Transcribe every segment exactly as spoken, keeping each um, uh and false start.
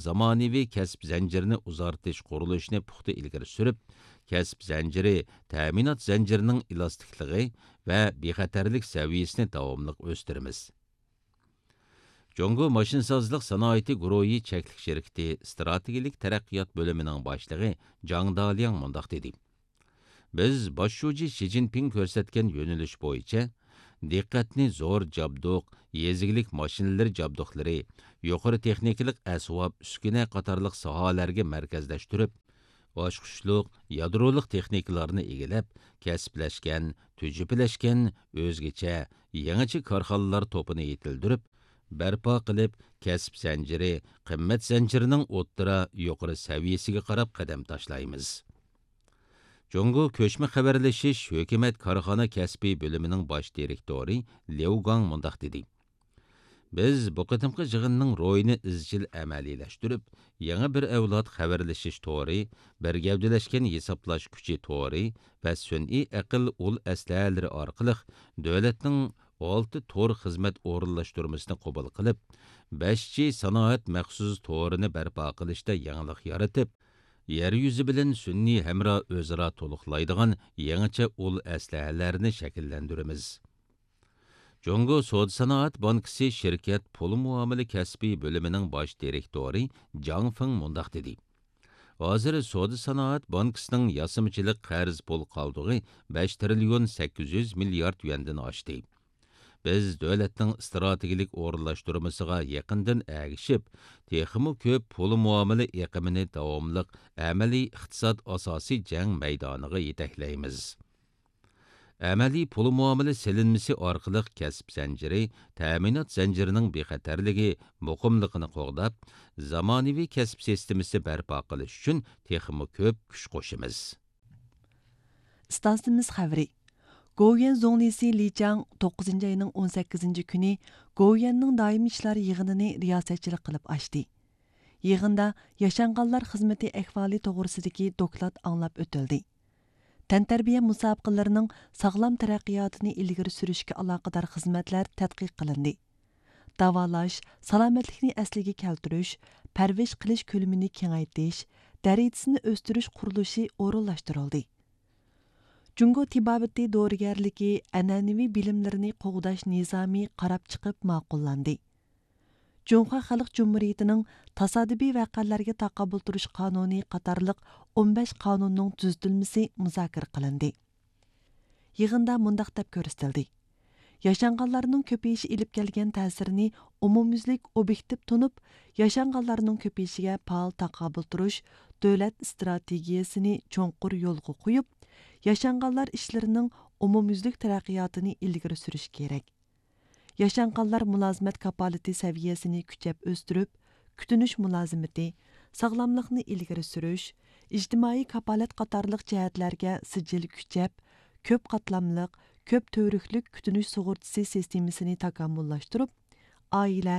زامانىۋى كەسىپ زەنجىرىنى ئۇزارتىش قۇرۇلۇشىنى پۇختا ئىلگىرى سۈرۈپ، كەسىپ زەنجىرى، تەمىنات زەنجىرىنىڭ ئېلاستىكلىقى ۋە بىخەتەرلىك سەۋىيەسىنى داۋاملىق ئۆستۈرىمىز. جۇڭگو ماشىنىسازلىق سانائىتى گۇرۇھى چەكلىك شىركىتى ئىستراتېگىيەلىك تەرەققىيات بۆلۈمىنىڭ باشلىقى جاڭ دالياڭ مۇنداق دېدى: بىز باش شۇجى شى جىنپىڭ كۆرسەتكەن يۆنىلىش بويىچە دىققەتنى زور جابدۇق، يېزا ئىگىلىك ماشىنىلىرى جابدۇقلىرى، يۇقىرى تېخنىكىلىق ئەسۋاب، ئۈسكۈنە قاتارلىق ساھەلەرگە مەركەزلەشتۈرۈپ، ئاچقۇچلۇق، يادرولۇق تېخنىكىلارنى ئىگىلەپ، كەسىپلەشكەن، تۈجۈپىلەشكەن، ئۆزگىچە، يېڭىچە كارخانىلار توپىنى يېتىلدۈرۈپ، بەرپا قىلىپ، كەسىپ زەنجىرى، قىممەت زەنجىرىنىڭ ئوتتۇرا، يۇقىرى سەۋىيەسىگە قاراپ قەدەم تاشلايمىز. جۇڭگو كۆچمە خەۋەرلىشىش ھۆكۈمەت كارخانا كەسپى بۆلۈمىنىڭ باش دىرېكتورى ليۇ گاڭ مۇنداق دېدى: بىز بۇ قېتىمقى يىغىننىڭ روھىنى ئىزچىل ئەمەلىيلەشتۈرۈپ، يېڭى بىر ئەۋلاد خەۋەرلىشىش تورى، بىر گەۋدىلەشكەن ھېسابلاش كۈچى تورى ۋە سۈنئىي ئەقىل ئۇل ئەسلىھەلىرى ئارقىلىق دۆلەتنىڭ ئالتە تور خىزمەت ئورۇنلاشتۇرمىسىنى قوبۇل قىلىپ، بەش جى سانائەت مەخسۇس تورىنى بەرپا قىلىشتا يېڭىلىق يارىتىپ، يەر يۈزى بىلەن سۈنئىي ھەمراھ ئۆزئارا تولۇقلايدىغان يېڭىچە ئۇل ئەسلىھەلەرنى شەكىللەندۈرىمىز. جۇڭگو سودا سانائەت بانكىسى شىركەت پۇل مۇئامىلە كەسپى بۆلۈمىنىڭ باش دىرېكتورى جاڭ فېڭ مۇنداق دېدى: ھازىر سودا سانائەت بانكىسىنىڭ ياسىمىچىلىق قەرز پۇل قالدۇقى بەش تىرىليون سەككىز يۈز مىليارد يۈەندىن ئاشتى. بىز دۆلەتنىڭ ئىستراتېگىيەلىك ئورۇنلاشتۇرمىسىغا يېقىندىن ئەگىشىپ، تېخىمۇ كۆپ پۇل مۇئامىلە ئېقىمىنى داۋاملىق ئەمەلىي ئىقتىساد ئاساسىي جەڭ مەيدانىغا يېتەكلەيمىز. ئەمەلىي پۇل مۇئامىلە سېلىنمىسى ئارقىلىق كەسىپ زەنجىرى، تەمىنات زەنجىرىنىڭ بىخەتەرلىكى، مۇقىملىقىنى قوغداپ، زامانىۋى كەسىپ سىستېمىسى بەرپا قىلىش ئۈچۈن تېخىمۇ كۆپ كۈچ قوشىمىز. ئىستانسىمىز خەۋىرى. گوۋۇيۈەن زۇڭلىسى لى چاڭ توققۇزىنچى ئاينىڭ ئون سەككىزىنچى كۈنى گوۋۇيۈەننىڭ دائىمىي ئىشلار يىغىنىنى رىياسەتچىلىك قىلىپ ئاچتى. يىغىندا ياشانغانلار خىزمىتى ئەھۋالى توغرىسىدىكى دوكلات ئاڭلاپ ئۆتۈلدى. تەنتەربىيە مۇسابىقىلىرىنىڭ ساغلام تەرەققىياتىنى ئىلگىرى سۈرۈشكە ئالاقىدار خىزمەتلەر تەتقىق قىلىندى. داۋالاش، سالامەتلىكنى ئەسلىگە كەلتۈرۈش، پەرۋىش قىلىش كۆلىمىنى كېڭەيتىش، دەرىجىسىنى ئۆستۈرۈش قۇرۇلۇشى ئورۇنلاشتۇرۇلدى. جۇڭگو تېبابىتى دورىگەرلىكى ئەنئەنىۋى بىلىملىرىنى قوغداش نىزامى قاراپ چىقىپ ماقۇللاندى. جۇڭخۇا خەلق جۇمھۇرىيىتىنىڭ تاسادىپىي ۋەقەلەرگە تاقابىل تۇرۇش قانۇنى قاتارلىق ئون بەش قانۇننىڭ تۈزىتىلمىسى مۇزاكىرە قىلىندى. يىغىندا مۇنداق دەپ كۆرسىتىلدى: ياشانغانلارنىڭ كۆپىيىشى ئېلىپ كەلگەن تەسىرىنى ئومۇميۈزلۈك ئوبيېكتىپ تونۇپ، ياشانغانلارنىڭ كۆپىيىشىگە پائال تاقابىل تۇرۇش دۆلەت ئىستراتېگىيەسىنى چوڭقۇر يولغا قويۇپ، ياشانغانلار ئىشلىرىنىڭ ئومۇميۈزلۈك تەرەققىياتىنى ئىلگىرى سۈرۈش كېرەك. ياشانغانلار مۇلازىمەت كاپالىتى سەۋىيەسىنى كۈچەپ ئۆستۈرۈپ، كۈتۈنۈش مۇلازىمىتى، ساغلاملىقنى ئىلگىرى سۈرۈش، ئىجتىمائىي كاپالەت قاتارلىق جەھەتلەرگە سىجىل كۈچەپ، كۆپ قاتلاملىق، كۆپ تۈۋرۈكلۈك كۈتۈنۈش سۇغۇرتىسى سىستېمىسىنى تاكامۇللاشتۇرۇپ، ئائىلە،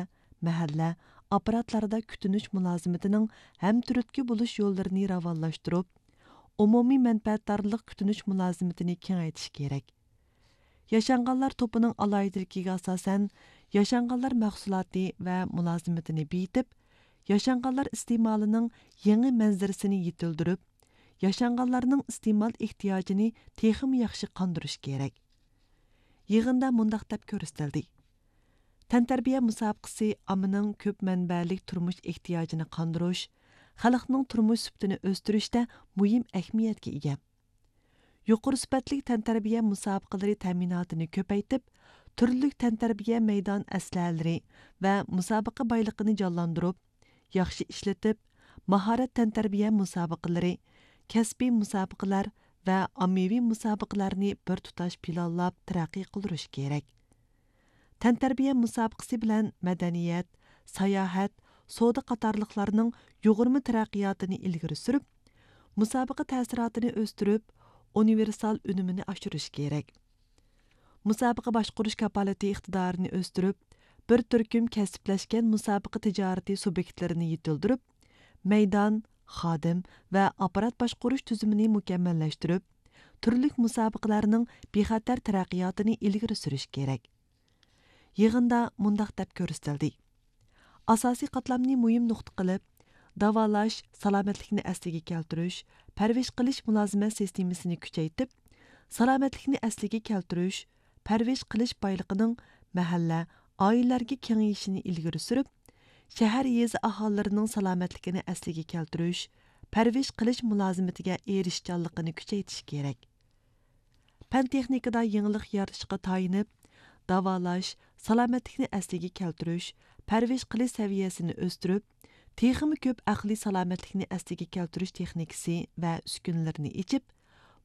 مەھەللە، ئاپپاراتلاردا كۈتۈنۈش مۇلازىمىتىنىڭ ھەمتۈرتكە بولۇش يوللىرىنى راۋانلاشتۇرۇپ، ئومۇمىي مەنپەئەتدارلىق كۈتۈنۈش مۇلازىمىتىنى كېڭەيتىش كېرەك. ياشانغانلار توپىنىڭ ئالاھىدىلىكىگە ئاساسەن، ياشانغانلار مەھسۇلاتى ۋە مۇلازىمىتىنى بېيىتىپ، ياشانغانلار ئىستېمالىنىڭ يېڭى مەنزىرىسىنى يېتىلدۈرۈپ، ياشانغانلارنىڭ ئىستېمال ئېھتىياجىنى تېخىمۇ ياخشى قاندۇرۇش كېرەك. يىغىندا مۇنداق دەپ كۆرسىتىلدى: تەنتەربىيە مۇسابىقىسى ئاممىنىڭ كۆپ مەنبەلىك تۇرمۇش ئېھتىياجىنى قاندۇرۇش، خەلقنىڭ تۇرمۇش سۈپىتىنى ئۆستۈرۈشتە مۇھىم ئەھمىيەتكە ئىگە. يۇقىرى سۈپەتلىك تەنتەربىيە مۇسابىقىلىرى تەمىناتىنى كۆپەيتىپ، تۈرلۈك تەنتەربىيە مەيدان ئەسلىھەلىرى ۋە مۇسابىقە بايلىقىنى جانلاندۇرۇپ، ياخشى ئىشلىتىپ، ماھارەت تەنتەربىيە مۇسابىقىلىرى، كەسپىي مۇسابىقىلەر ۋە ئاممىۋى مۇسابىقىلەرنى بىر تۇتاش پىلانلاپ تەرەققىي قىلدۇرۇش كېرەك. تەنتەربىيە مۇسابىقىسى بىلەن مەدەنىيەت، ساياھەت، سودا قاتارلىقلارنىڭ يۇغۇرما تەرەققىياتىنى ئىلگىرى سۈرۈپ، مۇسابىقە تەسىراتىنى ئۆستۈرۈپ، ئۇنىۋېرسال ئۈنۈمىنى ئاشۇرۇش كېرەك. مۇسابىقە باشقۇرۇش كاپالىتى ئىقتىدارىنى ئۆستۈرۈپ، بىر تۈركۈم كەسىپلەشكەن مۇسابىقە تىجارىتى سۇبيېكتلىرىنى يېتىلدۈرۈپ، مەيدان، خادىم ۋە ئاپپارات باشقۇرۇش تۈزۈمىنى مۇكەممەللەشتۈرۈپ، تۈرلۈك مۇسابىقىلەرنىڭ بىخەتەر تەرەققىياتىنى ئىلگىرى سۈرۈش كېرەك. يىغىندا مۇنداق دەپ كۆرسىتىلدى: ئاساسىي قاتلامنى مۇھىم نۇقتا قىلىپ، داۋالاش، سالامەتلىكنى ئەسلىگە كەلتۈرۈش، پەرۋىش قىلىش مۇلازىمەت سىستېمىسىنى كۈچەيتىپ، سالامەتلىكنى ئەسلىگە كەلتۈرۈش، پەرۋىش قىلىش بايلىقىنىڭ مەھەللە، ئائىلىلەرگە كېڭىيىشىنى ئىلگىرى سۈرۈپ، شەھەر، يېزا ئاھالىلىرىنىڭ سالامەتلىكىنى ئەسلىگە كەلتۈرۈش، پەرۋىش قىلىش مۇلازىمىتىگە ئېرىشىشچانلىقىنى كۈچەيتىش كېرەك. پەن تېخنىكىدا يېڭىلىق يارىتىشقا تايىنىپ، داۋالاش، سالامەتلىكنى ئەسلىگە كەلتۈرۈش، پەرۋىش قىلىش سەۋىيەسىنى ئۆستۈرۈپ، تېخىمۇ كۆپ ئەقلىي سالامەتلىكنى ئەسلىگە كەلتۈرۈش تېخنىكىسى ۋە ئۈسكۈنىلىرىنى ئېچىپ،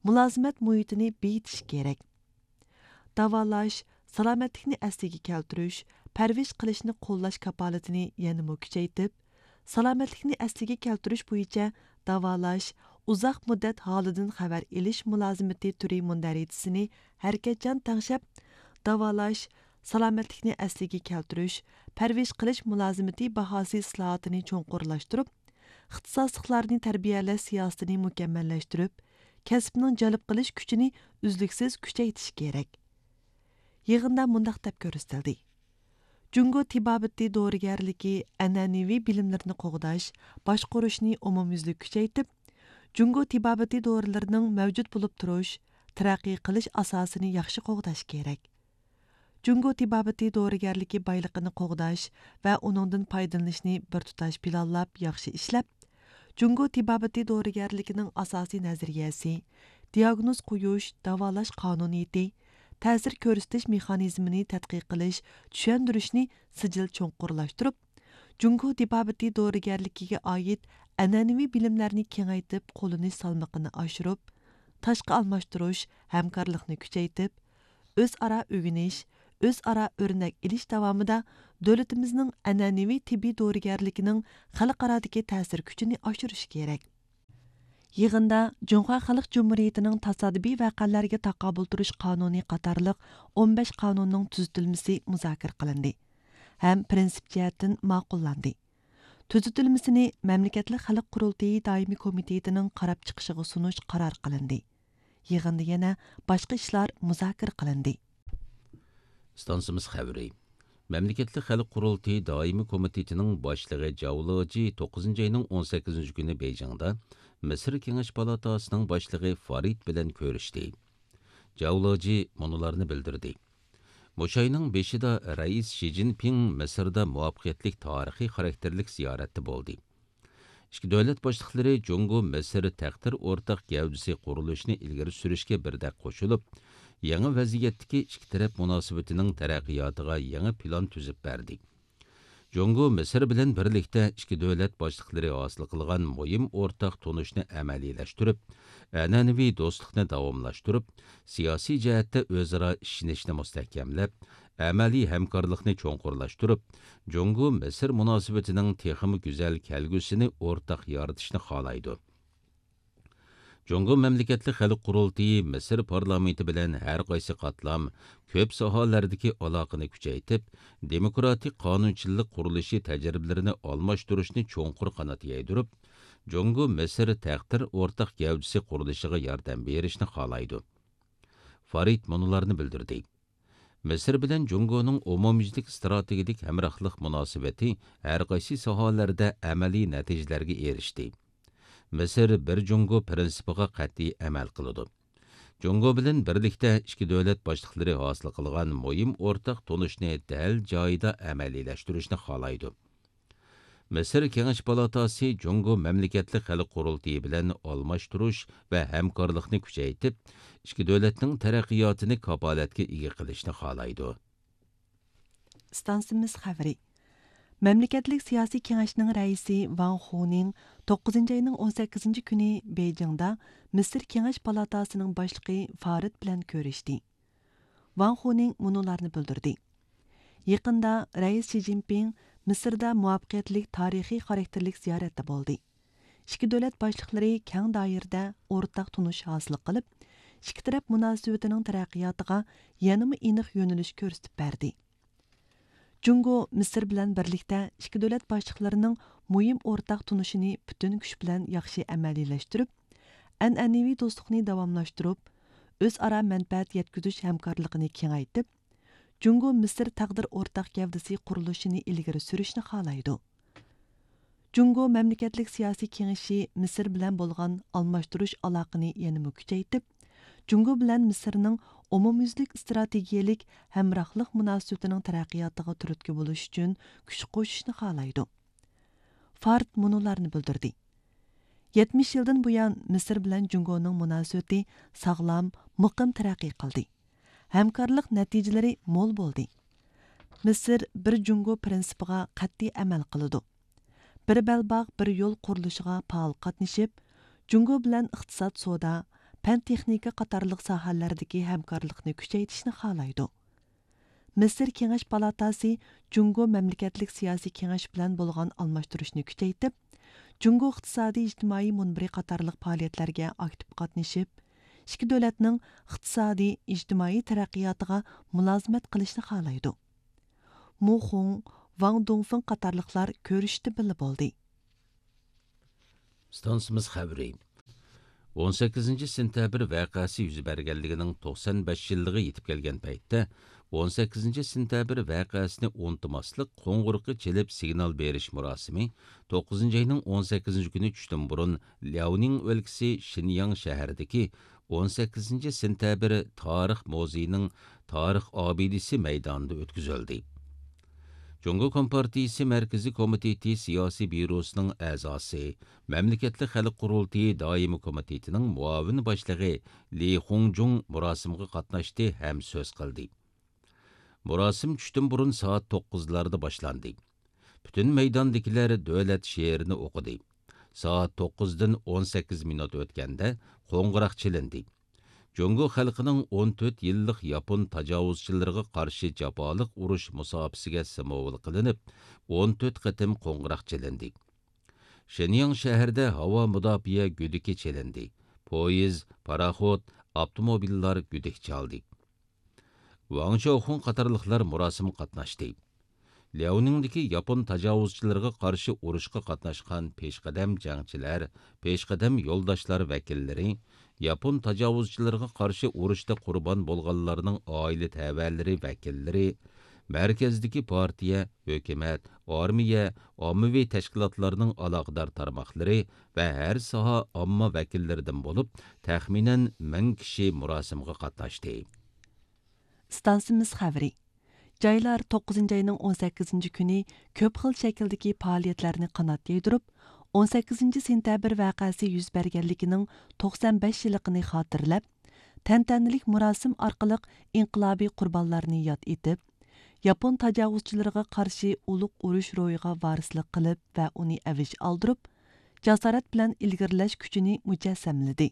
مۇلازىمەت مۇھىتىنى بېيىتىش كېرەك. داۋالاش، سالامەتلىكنى ئەسلىگە كەلتۈرۈش، پەرۋىش قىلىشنى قوللاش كاپالىتىنى يەنىمۇ كۈچەيتىپ، سالامەتلىكنى ئەسلىگە كەلتۈرۈش بويىچە داۋالاش، ئۇزاق مۇددەت ھالىدىن خەۋەر ئېلىش مۇلازىمىتى تۈرى مۇندەرىجىسىنى ھەرىكەتچان تەڭشەپ، داۋالاش، سالامەتلىكنى ئەسلىگە كەلتۈرۈش، پەرۋىش قىلىش مۇلازىمىتى باھاسى ئىسلاھاتىنى چوڭقۇرلاشتۇرۇپ، ئىختىساسلىقلارنى تەربىيەلەش سىياسىتىنى مۇكەممەللەشتۈرۈپ، كەسىپنىڭ جەلپ قىلىش كۈچىنى ئۈزلۈكسىز كۈچەيتىش كېرەك. يىغىندا مۇنداق دەپ كۆرسىتىلدى: جۇڭگو تېبابىتى دورىگەرلىكى ئەنئەنىۋى بىلىملىرىنى قوغداش، باشقۇرۇشنى ئومۇميۈزلۈك كۈچەيتىپ، جۇڭگو تېبابىتى دورىلىرىنىڭ مەۋجۇت بولۇپ تۇرۇش، تەرەققىي قىلىش ئاساسىنى ياخشى قوغداش كېرەك. جۇڭگو تېبابىتى دورىگەرلىكى بايلىقىنى قوغداش ۋە ئۇنىڭدىن پايدىلىنىشنى بىر تۇتاش پىلانلاپ ياخشى ئىشلەپ، جۇڭگو تېبابىتى دورىگەرلىكىنىڭ ئاساسىي نەزەرىيەسى، دىئاگنوز قويۇش، داۋالاش قانۇنىيىتى، تەسىر كۆرسىتىش مېخانىزمىنى تەتقىق قىلىش، چۈشەندۈرۈشنى سىجىل چوڭقۇرلاشتۇرۇپ، جۇڭگو تېبابىتى دورىگەرلىكىگە ئائىت ئەنئەنىۋى بىلىملەرنى كېڭەيتىپ، قوللىنىش سالمىقىنى ئاشۇرۇپ، تاشقى ئالماشتۇرۇش، ھەمكارلىقنى كۈچەيتىپ، ئۆزئارا ئۆگىنىش، ئۆزئارا ئۆرنەك ئېلىش داۋامىدا دۆلىتىمىزنىڭ ئەنئەنىۋى تېببىي دورىگەرلىكىنىڭ خەلقئارادىكى تەسىر كۈچىنى ئاشۇرۇش كېرەك. يىغىندا جۇڭخۇا خەلق جۇمھۇرىيىتىنىڭ تاسادىپىي ۋەقەلەرگە تاقابىل تۇرۇش قانۇنى قاتارلىق ئون بەش قانۇننىڭ تۈزىتىلمىسى مۇزاكىرە قىلىندى ھەم پىرىنسىپ جەھەتتىن ماقۇللاندى. تۈزىتىلمىسىنى مەملىكەتلىك خەلق قۇرۇلتىيى دائىمىي كومىتېتىنىڭ قاراپ چىقىشىغا سۇنۇش قارار قىلىندى. يىغىندا يەنە باشقا ئىشلار مۇزاكىرە قىلىندى. ئىستانسىمىز خەۋىرى. مەملىكەتلىك خەلق قۇرۇلتىيى دائىمىي كومىتېتىنىڭ باشلىقى جاۋ لېجى توققۇزىنچى ئاينىڭ ئون سەككىزىنچى كۈنى بېيجىڭدا مىسىر كېڭەش پالاتاسىنىڭ باشلىقى فارىد بىلەن كۆرۈشتى. جاۋ لېجى مۇنۇلارنى بىلدۈردى: مۇشۇ ئاينىڭ بېشىدا رەئىس شى جىنپىڭ مىسىردا مۇۋەپپەقىيەتلىك تارىخىي خاراكتېرلىك زىيارەتتە بولدى. ئىككى دۆلەت باشلىقلىرى جۇڭگو مىسىر تەقدىر ئورتاق گەۋدىسى قۇرۇلۇشىنى ئىلگىرى سۈرۈشكە بىردەك قوشۇلۇپ، يېڭى ۋەزىيەتتىكى ئىككى تەرەپ مۇناسىۋىتىنىڭ تەرەققىياتىغا يېڭى پىلان تۈزۈپ بەردى. جۇڭگو مىسىر بىلەن بىرلىكتە ئىككى دۆلەت باشلىقلىرى ھاسىل قىلغان مۇھىم ئورتاق تونۇشنى ئەمەلىيلەشتۈرۈپ، ئەنئەنىۋى دوستلۇقنى داۋاملاشتۇرۇپ، سىياسىي جەھەتتە ئۆزئارا ئىشىنىشنى مۇستەھكەملەپ، ئەمەلىي ھەمكارلىقنى چوڭقۇرلاشتۇرۇپ، جۇڭگو مىسىر مۇناسىۋىتىنىڭ تېخىمۇ گۈزەل كەلگۈسىنى ئورتاق يارىتىشنى خالايدۇ. جۇڭگو مەملىكەتلىك خەلق قۇرۇلتىيى مىسىر پارلامېنتى بىلەن ھەر قايسى قاتلام، كۆپ ساھەلەردىكى ئالاقىنى كۈچەيتىپ، دېموكراتىك قانۇنچىلىق قۇرۇلۇشى تەجرىبىلىرىنى ئالماشتۇرۇشنى چوڭقۇر قانات يايدۇرۇپ، جۇڭگو مىسىر تەقدىر ئورتاق گەۋدىسى قۇرۇلۇشىغا ياردەم بېرىشنى خالايدۇ. فارىد مۇنۇلارنى بىلدۈردى. مىسىر بىلەن جۇڭگونىڭ ئومۇميۈزلۈك ئىستراتېگىيىلىك ھەمراھلىق مۇناسىۋىتى ھەر قايسى ساھەلەردە ئەمەلىي نەتىجىلەرگە ئېرىشتى. مىسىر بىر جۇڭگو پىرىنسىپىغا قەتئىي ئەمەل قىلىدۇ. جۇڭگو بىلەن بىرلىكتە ئىككى دۆلەت باشلىقلىرى ھاسىل قىلغان مۇھىم ئورتاق تونۇشنى دەل جايىدا ئەمەلىيلەشتۈرۈشنى خالايدۇ. مىسىر كېڭەش پالاتاسى جۇڭگو مەملىكەتلىك خەلق قۇرۇلتىيى بىلەن ئالماشتۇرۇش ۋە ھەمكارلىقنى كۈچەيتىپ، ئىككى دۆلەتنىڭ تەرەققىياتىنى كاپالەتكە ئىگە قىلىشنى خالايدۇ. ئىستانسىمىز خەۋىرى. مەملىكەتلىك سىياسىي كېڭەشنىڭ رەئىسى ۋاڭ خۇنىڭ توققۇزىنچى ئاينىڭ ئون سەككىزىنچى كۈنى بېيجىڭدا مىسىر كېڭەش پالاتاسىنىڭ باشلىقى فارىد بىلەن كۆرۈشتى. ۋاڭ خۇنىڭ مۇنۇلارنى بىلدۈردى: يېقىندا رەئىس شى جىنپىڭ مىسىردا مۇۋەپپەقىيەتلىك تارىخىي خاراكتېرلىك زىيارەتتە بولدى. ئىككى دۆلەت باشلىقلىرى كەڭ دائىرىدە ئورتاق تونۇش ھاسىل قىلىپ، ئىككى تەرەپ مۇناسىۋىتىنىڭ تەرەققىياتىغا يەنىمۇ ئېنىق يۆنىلىش كۆرسىتىپ بەردى. جۇڭگو مىسىر بىلەن بىرلىكتە ئىككى دۆلەت باشلىقلىرىنىڭ مۇھىم ئورتاق تونۇشىنى پۈتۈن كۈچ بىلەن ياخشى ئەمەلىيلەشتۈرۈپ، ئەنئەنىۋى دوستلۇقنى داۋاملاشتۇرۇپ، ئۆزئارا مەنپەئەت يەتكۈزۈش ھەمكارلىقىنى كېڭەيتىپ، جۇڭگو مىسىر تەقدىر ئورتاق گەۋدىسى قۇرۇلۇشىنى ئىلگىرى سۈرۈشنى خالايدۇ. جۇڭگو مەملىكەتلىك سىياسىي كېڭىشى مىسىر بىلەن بولغان ئالماشتۇرۇش ئالاقىنى يەنىمۇ كۈچەيتىپ، جۇڭگو بىلەن مىسىرنىڭ ئومۇميۈزلۈك ئىستراتېگىيەلىك ھەمراھلىق مۇناسىۋىتىنىڭ تەرەققىياتىغا تۈرتكە بولۇش ئۈچۈن كۈچ قوشۇشنى خالايدۇ. فارد مۇنۇلارنى بىلدۈردى: يەتمىش يىلدىن بۇيان، مىسىر بىلەن جۇڭگونىڭ مۇناسىۋىتى ساغلام، مۇقىم تەرەققىي قىلدى. ھەمكارلىق نەتىجىلىرى مول بولدى. مىسىر بىر جۇڭگو پىرىنسىپىغا قەتئىي ئەمەل قىلىدۇ. بىر بەلباغ، بىر يول قۇرۇلۇشىغا پائال قاتنىشىپ، جۇڭگو بىلەن ئىقتىساد، سودا، پەن تېخنىكا قاتارلىق ساھەلەردىكى ھەمكارلىقنى كۈچەيتىشنى خالايدۇ. مىسىر كېڭەش پالاتاسى جۇڭگو مەملىكەتلىك سىياسىي كېڭەش بىلەن بولغان ئالماشتۇرۇشنى كۈچەيتىپ، جۇڭگو ئىقتىسادىي ئىجتىمائىي مۇنبىرى قاتارلىق پائالىيەتلەرگە ئاكتىپ قاتنىشىپ، ئىككى دۆلەتنىڭ ئىقتىسادىي، ئىجتىمائىي تەرەققىياتىغا مۇلازىمەت قىلىشنى خالايدۇ. مۇ خۇڭ، ۋاڭ دۇڭفېڭ قاتارلىقلار كۆرۈشۈشتە بىللە بولدى. ئىستانسىمىز خەۋىرى. ئون سەككىزىنچى سېنتەبىر ۋەقەسى يۈز بەرگەنلىكىنىڭ توقسان بەش يىللىقى يېتىپ كەلگەن پەيتتە، ئون سەككىزىنچى سېنتەبىر ۋەقەسىنى ئۇنتۇماسلىق قوڭغۇرىقى چېلىپ سىگنال بېرىش مۇراسىمى توققۇزىنچى ئاينىڭ ئون سەككىزىنچى كۈنى چۈشتىن بۇرۇن لياۋنىڭ ئۆلكىسى شىنياڭ شەھىرىدىكى ئون سەككىزىنچى سېنتەبىر تارىخ مۇزېيىنىڭ تارىخ ئابىدىسى مەيدانىدا ئۆتكۈزۈلدى. جۇڭگو كومپارتىيىسى مەركىزىي كومىتېتى سىياسىي بيۇروسىنىڭ ئەزاسى، مەملىكەتلىك خەلق قۇرۇلتىيى دائىمىي كومىتېتىنىڭ مۇئاۋىن باشلىقى لى خۇڭجۇڭ مۇراسىمغا قاتناشتى ھەم سۆز قىلدى. مۇراسىم چۈشتىن بۇرۇن سائەت توققۇزلاردا باشلاندى. پۈتۈن مەيداندىكىلەر دۆلەت شېئىرىنى ئوقۇدى. سائەت توققۇزدىن ئون سەككىز مىنۇت ئۆتكەندە قوڭغۇراق چېلىندى. جۇڭگو خەلقىنىڭ ئون تۆت يىللىق ياپون تاجاۋۇزچىلىرىغا قارشى جاپالىق ئۇرۇش مۇساپىسىگە سىمۋول قىلىنىپ، ئون تۆت قېتىم قوڭغۇراق چېلىندى. شېنياڭ شەھىرىدە ھاۋا مۇداپىئە گۈدۈكى چېلىندى. پويىز، پاراخوت، ئاپتوموبىللار گۈدۈك چالدى. ۋاڭ چياۋخۇڭ قاتارلىقلار مۇراسىمغا قاتناشتى. لياۋنىڭدىكى ياپون تاجاۋۇزچىلىرىغا قارشى ئۇرۇشقا قاتناشقان پېشقەدەم جەڭچىلەر، پېشقەدەم يولداشلار ۋەكىللىرى، ياپون تاجاۋۇزچىلىرىغا قارشى ئۇرۇشتا قۇربان بولغانلارنىڭ ئائىلە تەۋەلىرى ۋەكىللىرى، مەركەزدىكى پارتىيە، ھۆكۈمەت، ئارمىيە، ئاممىۋى تەشكىلاتلارنىڭ ئالاقىدار تارماقلىرى ۋە ھەر ساھە ئامما ۋەكىللىرىدىن بولۇپ، تەخمىنەن مىڭ كىشى مۇراسىمغا قاتناشتى. ئىستانسىمىز خەۋىرى. جايلار توققۇزىنچى ئاينىڭ ئون سەككىزىنچى كۈنى كۆپ خىل شەكىلدىكى پائالىيەتلەرنى قانات يايدۇرۇپ، ئون سەككىزىنچى سېنتەبىر ۋەقەسى يۈز بەرگەنلىكىنىڭ توقسان بەش يىللىقىنى خاتىرىلەپ، تەنتەنىلىك مۇراسىم ئارقىلىق ئىنقىلابىي قۇربانلارنى ياد ئېتىپ، ياپون تاجاۋۇزچىلىرىغا قارشى ئۇلۇغ ئۇرۇش روھىغا ۋارىسلىق قىلىپ ۋە ئۇنى ئەۋج ئالدۇرۇپ، جاسارەت بىلەن ئىلگىرىلەش كۈچىنى مۇجەسسەملىدى.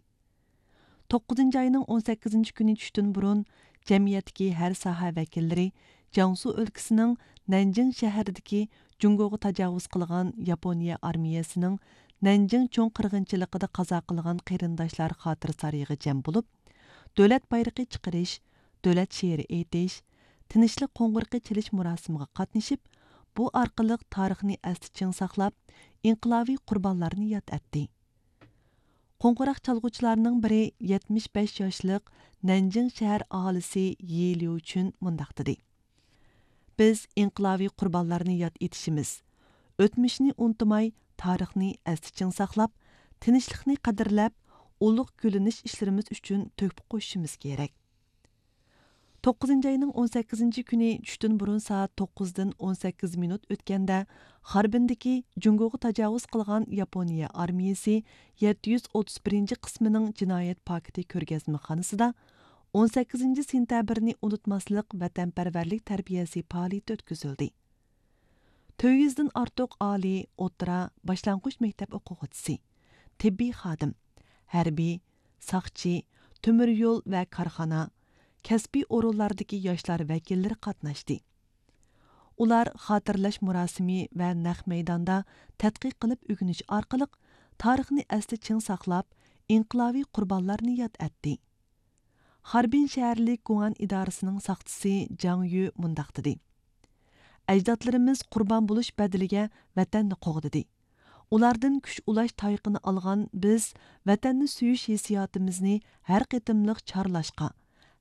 توققۇزىنچى ئاينىڭ ئون سەككىزىنچى كۈنى چۈشتىن بۇرۇن، جەمئىيەتتىكى ھەر ساھە ۋەكىللىرى جياڭسۇ ئۆلكىسىنىڭ نەنجىڭ شەھىرىدىكى جۇڭگوغا تاجاۋۇز قىلغان ياپونىيە ئارمىيەسىنىڭ نەنجىڭ چوڭ قىرغىنچىلىقىدا قازا قىلغان قېرىنداشلار خاتىرىسارىيىغا جەم بولۇپ، دۆلەت بايرىقى چىقىرىش، دۆلەت شېئىرى ئېيتىش، تىنچلىق قوڭغۇرىقى چېلىش مۇراسىمىغا قاتنىشىپ، بۇ ئارقىلىق تارىخنى ئەستە چىڭ ساقلاپ، ئىنقىلابىي قۇربانلارنى ياد ئەتتى. قوڭغۇراق چالغۇچىلارنىڭ بىرى، يەتمىش بەش ياشلىق نەنجىڭ شەھەر ئاھالىسى يى ليۇچۈن مۇنداق دېدى: بىز ئىنقىلابىي قۇربانلارنى ياد ئېتىشىمىز، ئۆتمۈشنى ئۇنتۇماي، تارىخنى ئەستە چىڭ ساقلاپ، تىنچلىقنى قەدىرلەپ، ئۇلۇغ گۈللىنىش ئىشلىرىمىز ئۈچۈن تۆھپە قوشۇشىمىز كېرەك. توققۇزىنچى ئاينىڭ ئون سەككىزىنچى كۈنى چۈشتىن بۇرۇن سائەت توققۇزدىن ئون سەككىز مىنۇت ئۆتكەندە، خاربىندىكى جۇڭگوغا تاجاۋۇز قىلغان ياپونىيە ئارمىيىسى يەتتە يۈز ئوتتۇز بىرىنچى قىسمىنىڭ جىنايەت پاكىتى كۆرگەزمىخانىسىدا ئون سەككىزىنچى سېنتەبىرنى ئۇنتۇماسلىق ۋەتەنپەرۋەرلىك تەربىيەسى پائالىيىتى ئۆتكۈزۈلدى. تۆت يۈزدىن ئارتۇق ئالىي، ئوتتۇرا، باشلانغۇچ مەكتەپ ئوقۇغۇچىسى، تېببىي خادىم، ھەربىي، ساقچى، تۆمۈر يول ۋە كارخانا، كەسپىي ئورۇنلاردىكى ياشلار ۋەكىللىرى قاتناشتى. ئۇلار خاتىرىلەش مۇراسىمى ۋە نەق مەيداندا تەتقىق قىلىپ ئۆگىنىش ئارقىلىق تارىخنى ئەستە چىڭ ساقلاپ، ئىنقىلابىي قۇربانلارنى ياد ئەتتى. خاربىن شەھەرلىك گۇڭئەن ئىدارىسىنىڭ ساقچىسى جاڭ يۈ مۇنداق دېدى: ئەجدادلىرىمىز قۇربان بولۇش بەدىلىگە ۋەتەننى قوغدىدى. ئۇلاردىن كۈچ ئۇلاش تايىقىنى ئالغان بىز ۋەتەننى سۆيۈش ھېسسىياتىمىزنى ھەر قېتىملىق چارلاشقا،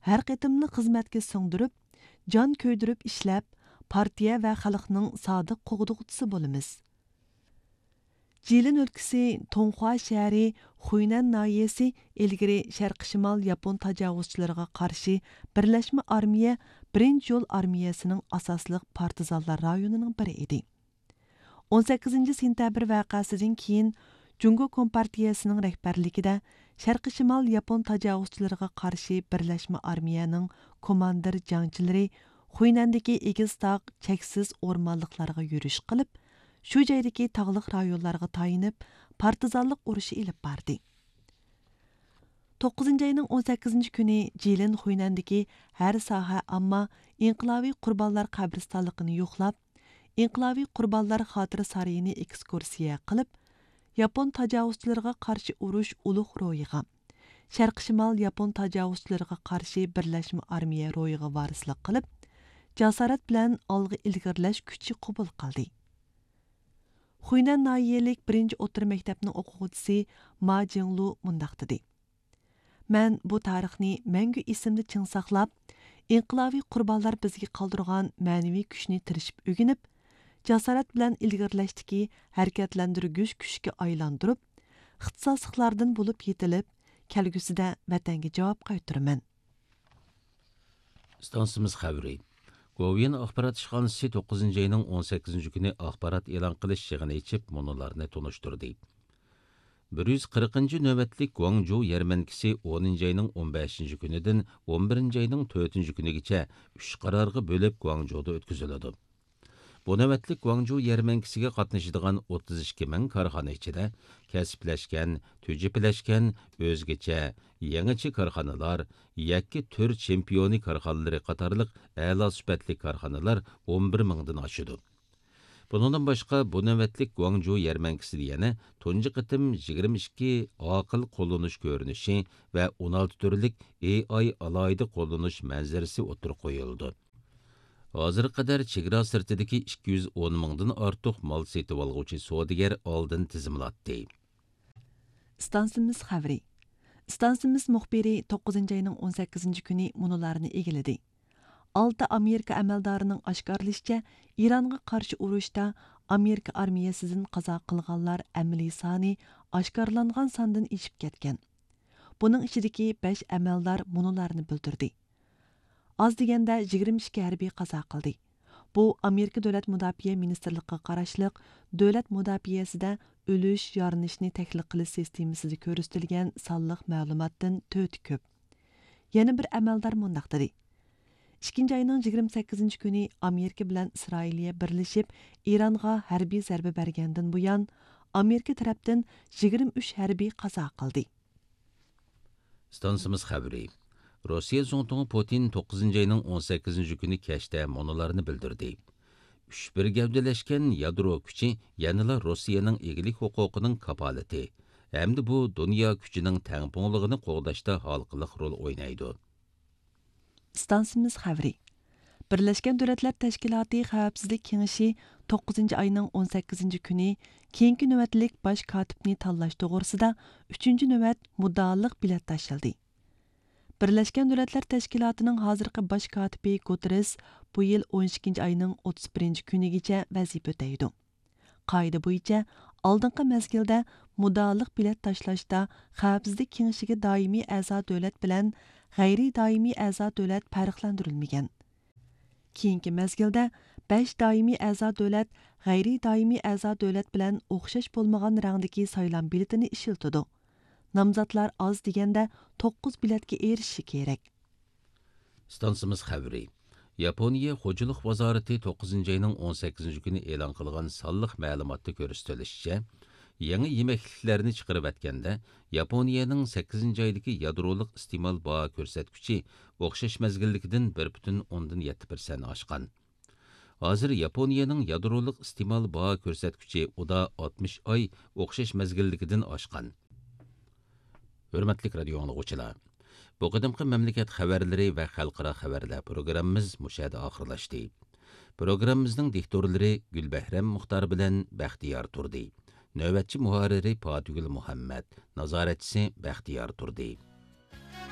ھەر قېتىملىق خىزمەتكە سىڭدۈرۈپ، جان كۆيدۈرۈپ ئىشلەپ، پارتىيە ۋە خەلقنىڭ سادىق قوغدىغۇچىسى بولىمىز. جىلىن ئۆلكىسى تۇڭخۇا شەھىرى خۇينەن ناھىيەسى ئىلگىرى شەرقىي شىمال ياپون تاجاۋۇزچىلىرىغا قارشى بىرلەشمە ئارمىيە بىرىنچى يول ئارمىيەسىنىڭ ئاساسلىق پارتىزانلار رايونىنىڭ بىرى ئىدى. ئون سەككىزىنچى سېنتەبىر ۋەقەسىدىن كېيىن، جۇڭگو كومپارتىيەسىنىڭ رەھبەرلىكىدە شەرقىي شىمال ياپون تاجاۋۇزچىلىرىغا قارشى بىرلەشمە ئارمىيەنىڭ كوماندىر جەڭچىلىرى خۇينەندىكى ئېگىز تاغ، چەكسىز ئورمانلىقلارغا يۈرۈش قىلىپ، شۇ جايدىكى تاغلىق رايونلارغا تايىنىپ، پارتىزانلىق ئۇرۇشى ئېلىپ باردى. توققۇزىنچى ئاينىڭ ئون سەككىزىنچى كۈنى جىلىن خۇينەندىكى ھەر ساھە ئامما ئىنقىلابىي قۇربانلار قەبرىستانلىقىنى يوقلاپ، ئىنقىلابىي قۇربانلار خاتىرە سارىيىنى ئېكسكۇرسىيە قىلىپ، ياپون تاجاۋۇزچىلىرىغا قارشى ئۇرۇش ئۇلۇغ روھىغا، شەرقىي شىمال ياپون تاجاۋۇزچىلىرىغا قارشى بىرلەشمە ئارمىيە روھىغا ۋارىسلىق قىلىپ، جاسارەت بىلەن ئالغا ئىلگىرىلەش كۈچى قوبۇل قىلدى. خۇينەن ناھىيەلىك بىرىنچى ئوتتۇرا مەكتەپنىڭ ئوقۇغۇچىسى ما جىڭلۇ مۇنداق دېدى: مەن بۇ تارىخنى مەڭگۈ ئېسىمدە چىڭ ساقلاپ، ئىنقىلابىي قۇربانلار بىزگە قالدۇرغان مەنىۋى كۈچنى تىرىشىپ ئۆگىنىپ، جاسارەت بىلەن ئىلگىرىلەشتىكى ھەرىكەتلەندۈرگۈچ كۈچكە ئايلاندۇرۇپ، ئىختىساسلىقلاردىن بولۇپ يېتىلىپ، كەلگۈسىدە ۋەتەنگە جاۋاب قايتۇرىمەن. ئىستانسىمىز خەۋىرى. گوۋۇيۈەن ئاخبارات ئىشخانىسى توققۇزىنچى ئاينىڭ ئون سەككىزىنچى كۈنى ئاخبارات ئېلان قىلىش يىغىنى ئېچىپ، مۇنۇلارنى تونۇشتۇردى. بىر يۈز قىرىقىنچى نۆۋەتلىك گۇاڭجۇ يەرمەنكىسى ئونىنچى ئاينىڭ ئون بەشىنچى كۈنىدىن ئون بىرىنچى ئاينىڭ تۆتىنچى كۈنىگىچە ئۈچ قارارغا بۆلۈپ گۇاڭجۇدا ئۆتكۈزۈلىدۇ. بۇ نۆۋەتلىك گۇاڭجۇ يەرمەنكىسىگە قاتنىشىدىغان ئوتتۇز ئىككى مىڭ كارخانا ئىچىدە كەسىپلەشكەن، تۈجۈپىلەشكەن، ئۆزگىچە، يېڭىچە كارخانىلار، يەككە تۈر چېمپىيونى كارخانىلىرى قاتارلىق ئەلا سۈپەتلىك كارخانىلار ئون بىر مىڭدىن ئاشىدۇ. بۇنىڭدىن باشقا، بۇ نۆۋەتلىك گۇاڭجۇ يەرمەنكىسىدە يەنە تۇنجى قېتىم يىگىرمە ئىككى ئاقىل قوللىنىش كۆرۈنۈشى ۋە ئون ئالتە تۈرلۈك ئېي ئاي ئالاھىدە قوللىنىش مەنزىرىسى ئوتتۇرىغا قويۇلىدۇ. ھازىرغا قەدەر چېگرا سىرتىدىكى ئىككى يۈز ئون مىڭدىن ئارتۇق مال سېتىۋالغۇچى سودىگەر ئالدىن تىزىملاتتى. ئىستانسىمىز خەۋىرى. ئىستانسىمىز مۇخبىرى توققۇزىنچى ئاينىڭ ئون سەككىزىنچى كۈنى مۇنۇلارنى ئىگىلىدى. ئالتە ئامېرىكا ئەمەلدارىنىڭ ئاشكارىلىشىچە، ئىرانغا قارشى ئۇرۇشتا ئامېرىكا ئارمىيەسىدىن قازا قىلغانلار ئەمەلىي سانى ئاشكارىلانغان ساندىن ئېشىپ كەتكەن. بۇنىڭ ئىچىدىكى بەش ئەمەلدار مۇنۇلارنى بىلدۈردى. ئاز دېگەندە يىگىرمە ئىككى ھەربىي قازا قىلدى. بۇ ئامېرىكا دۆلەت مۇداپىئە مىنىستىرلىقىغا قاراشلىق دۆلەت مۇداپىئەسىدە ئۆلۈش، يارىلىنىشنى تەھلىل قىلىش سىستېمىسىدا كۆرسىتىلگەن سانلىق مەلۇماتتىن تۆتى كۆپ. يەنە بىر ئەمەلدار مۇنداق دېدى: ئىككىنچى ئاينىڭ يىگىرمە سەككىزىنچى كۈنى ئامېرىكا بىلەن ئىسرائىلىيە بىرلىشىپ ئىرانغا ھەربىي زەربە بەرگەندىن بۇيان، ئامېرىكا تەرەپتىن يىگىرمە ئۈچ ھەربىي قازا قىلدى. ئىستانسىمىز خەۋىرى. روسىيە زۇڭتۇڭى پۇتىن توققۇزىنچى ئاينىڭ ئون سەككىزىنچى كۈنى كەچتە مۇنۇلارنى بىلدۈردى: ئۈچ بىر گەۋدىلەشكەن يادرو كۈچى يەنىلا روسىيەنىڭ ئىگىلىك ھوقۇقىنىڭ كاپالىتى ھەمدە بۇ دۇنيا كۈچىنىڭ تەڭپۇڭلۇقىنى قوغداشتا ھالقىلىق رول ئوينايدۇ. ئىستانسىمىز خەۋىرى. بىرلەشكەن دۆلەتلەر تەشكىلاتى خەۋپسىزلىك كېڭىشى توققۇزىنچى ئاينىڭ ئون سەككىزىنچى كۈنى كېيىنكى نۆۋەتلىك باش كاتىپنى تاللاش توغرىسىدا ئۈچىنچى نۆۋەت مۇددىئالىق بېلەت تاشلىدى. بىرلەشكەن دۆلەتلەر تەشكىلاتىنىڭ ھازىرقى باش كاتىپى گۇتېررېس بۇ يىل ئون ئىككىنچى ئاينىڭ ئوتتۇز بىرىنچى كۈنىگىچە ۋەزىپە ئۆتەيدۇ. قائىدە بويىچە، ئالدىنقى مەزگىلدە مۇددىئالىق بېلەت تاشلاشتا خەۋپسىزلىك كېڭىشىگە دائىمىي ئەزا دۆلەت بىلەن غەيرىي دائىمىي ئەزا دۆلەت پەرقلەندۈرۈلمىگەن. كېيىنكى مەزگىلدە بەش دائىمىي ئەزا دۆلەت غەيرىي دائىمىي ئەزا دۆلەت بىلەن ئوخشاش بولمىغان رەڭدىكى سايلام بېلىتىنى ئىشلىتىدۇ. نامزاتلار ئاز دېگەندە توققۇز بېلەتكە ئېرىشىشى كېرەك. ئىستانسىمىز خەۋىرى. ياپونىيە خوجىلىق ۋازارىتى توققۇزىنچى ئاينىڭ ئون سەككىزىنچى كۈنى ئېلان قىلغان سانلىق مەلۇماتتا كۆرسىتىلىشىچە، يېڭى يېمەكلىكلەرنى چىقىرىۋەتكەندە، ياپونىيەنىڭ سەككىزىنچى ئايدىكى يادرولۇق ئىستېمال باھا كۆرسەتكۈچى ئوخشاش مەزگىلدىكىدىن بىر پۈتۈن ئوندىن يەتتە پىرسەنت ئاشقان. ھازىر ياپونىيەنىڭ يادرولۇق ئىستېمال باھا كۆرسەتكۈچى ئۇدا ئاتمىش ئاي ئوخشاش مەزگىلدىكىدىن ئاشقان. ھۆرمەتلىك رادىيو ئاڭلىغۇچىلار، بۇ قېتىمقى مەملىكەت خەۋەرلىرى ۋە خەلقئارا خەۋەرلەر پروگراممىمىز مۇشۇ يەردە ئاخىرلاشتى. پروگراممىمىزنىڭ دىكتورلىرى گۈلبەھرەم مۇختار بىلەن بەختىيار تۇردى. نۆۋەتچى مۇھەررىرى پاتىگۈل مۇھەممەت، نازارەتچىسى بەختىيار تۇردى.